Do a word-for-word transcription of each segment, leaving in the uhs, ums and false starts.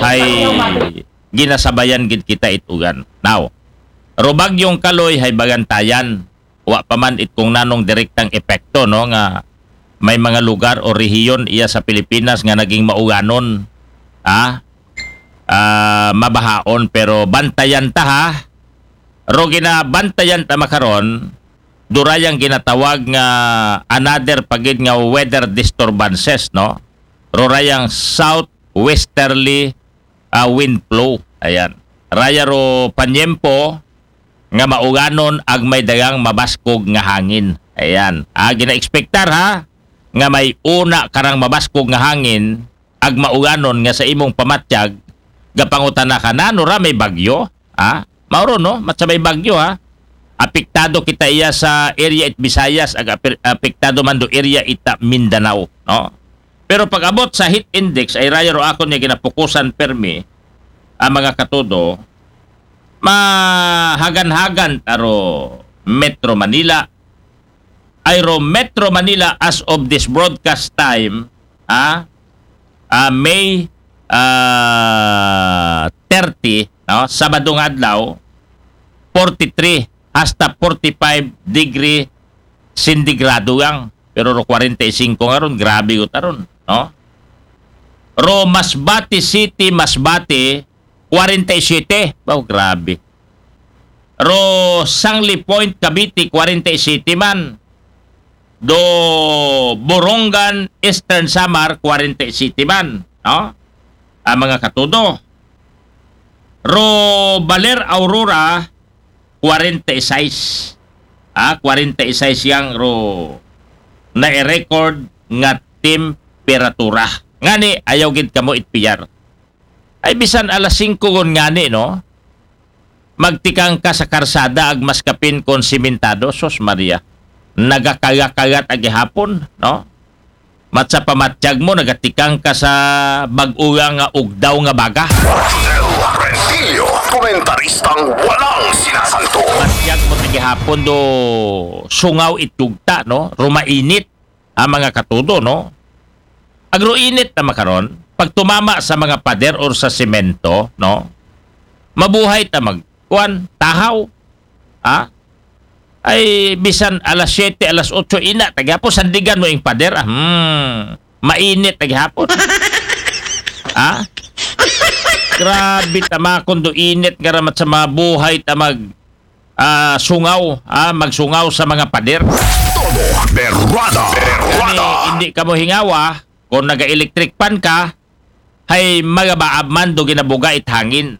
ay ginasabayan gid kita it ugan. Now, ro bagyong Kaloy hay bagantayan. Wa pa man it kung nanong direktang epekto, no, nga may mga lugar o rehiyon iya sa Pilipinas nga naging mauganon, ha? Ah, mabahaon, pero bantayan ta, ha. Ro ginabantayan ta makaron, durayang ginatawag nga another pagid nga weather disturbances, no? Rurayang southwesterly ah, wind flow. Ayan. Raya ro panyempo nga mauganon ag may dagang mabaskog nga hangin. Ayan. Ah, gina-expectar, ha, nga may una karang mabaskog nga hangin ag mauganon nga sa imong pamatyag, gapangutana ka, "Nano ra, may bagyo?" Ha? Mauro, no? Matsa may bagyo, ha? Apektado kita iya sa area it Visayas, ag ape-, apektado man do area ita Mindanao, no? Pero pag-abot sa heat index, ay raya ro akon niya ginapukusan permi, ang mga katudo, mahagan-hagan ta ro Metro Manila, ay ro Metro Manila as of this broadcast time, ah, ah, May, ah, thirty, no? Sabado nga adlaw, forty-three hasta forty-five degree sentigrado yang. Pero ro kwarenta y singko nga ron, grabe gud aron, no? Ro Masbate City, Masbate, kwarenta y siyete. Wow, grabe. Ro Sangli Point, Cavite, kwarenta y siyete man. Do Borongan, Eastern Samar, kwarenta y siyete man, no? Ang mga katudo. Ro Baler, Aurora, kwarenta y sais. Ah, kwarenta y sais yang ro na-record nga temperatura. Ngani, ayaw gid kamo itpiyar. Ay, bisan alas singko gon ngani, no? Magtikang ka sa karsada ag maskapin kon simentado, sus Maria. Nagakayakagat agi hapon, no? Matsa pamatyag mo, nagatikang ka sa bag-o nga ugdaw nga baga. Rodel Rentillo, komentaristang walang sinasanto. Matyag mo, agi hapon do sungaw it yugta, no? Rumainit ang mga katudo, no? Ag ro init na makaron, pag tumama sa mga pader or sa semento, no? Mabuhay ta mag, kuan, tahaw. Ha? Ay, bisan alas siyete, alas otso, ina, ta gihapon, sandigan mo ing pader, ah, hmm, mainit, ta gihapon. Ha? Grabe, tamakon do init, nga ramat sa mabuhay, ta mag, ah, sungaw, ah, magsungaw sa mga pader. Todo berrada. Berrada. Hindi, hindi ka mo hingawa, kung naga-electric fan ka, hay magabaab man do ginabuga it hangin.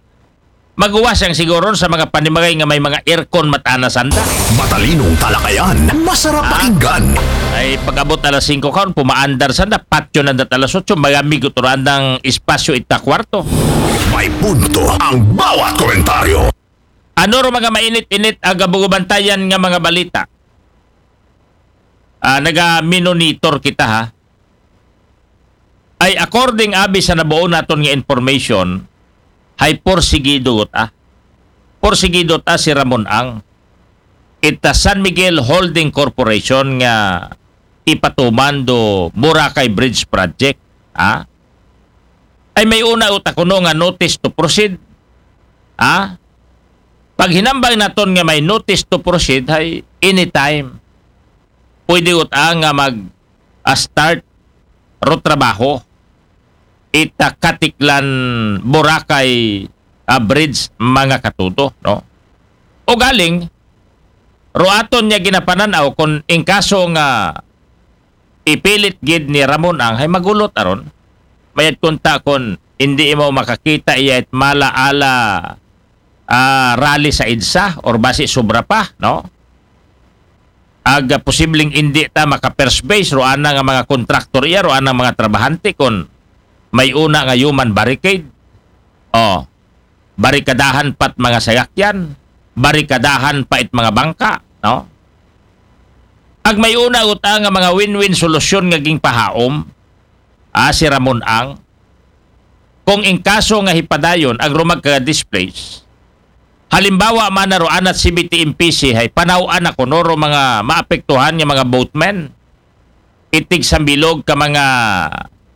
Maguwas yang siguron sa mga panimagay nga may mga aircon matana sanda. Matalinong talakayan, masarap pakinggan. Ay, pag-abot alas singko karon, pumaandar sanda, patyo nanda alas otso, magamigo to andang espasyo ita kwarto. May punto ang bawat komentaryo. Ano ro mga mainit-init ag abugubantayan nga mga balita? Ah, naga-monitor kita, ha. Ay, according abi sa nabuo naton nga information, hay porsigido ta. Porsigido ta si Ramon Ang. Ita San Miguel Holding Corporation nga ipatuman do Boracay Bridge Project, ha? Ay, may una uta kuno nga notice to proceed, ha? Pag hinambang naton nga may notice to proceed, hay anytime pwede uta nga mag, ah, start ro trabaho ita Katiklan Boracay, ah, Bridge, mga katudo, no? O galing, ro aton niya ginapananaw kung in kaso nga ipilit gid ni Ramon Ang, hay magulot aron. Mayad kunta kung hindi mo makakita iya it mala ala, ah, rally sa EDSA or basi sobra pa, no? Ag, ah, posibleng indi ta maka-first base, ro ana nga mga kontraktor iya, ro ana nga mga trabahante, kon may una nga human barricade. Oh, barikadahan pa't mga sayakyan, barikadahan pa it mga bangka, no? Ag may una uta nga mga win-win solusyon nga ginpahaom, ah, si Ramon Ang, kung in kaso nga hipadayon ag ro magka-displace, halimbawa man na ro anat C B T M P C hay panaw-an na kuno ro mga maapektuhan nga mga boatmen, itig sa bilog ka mga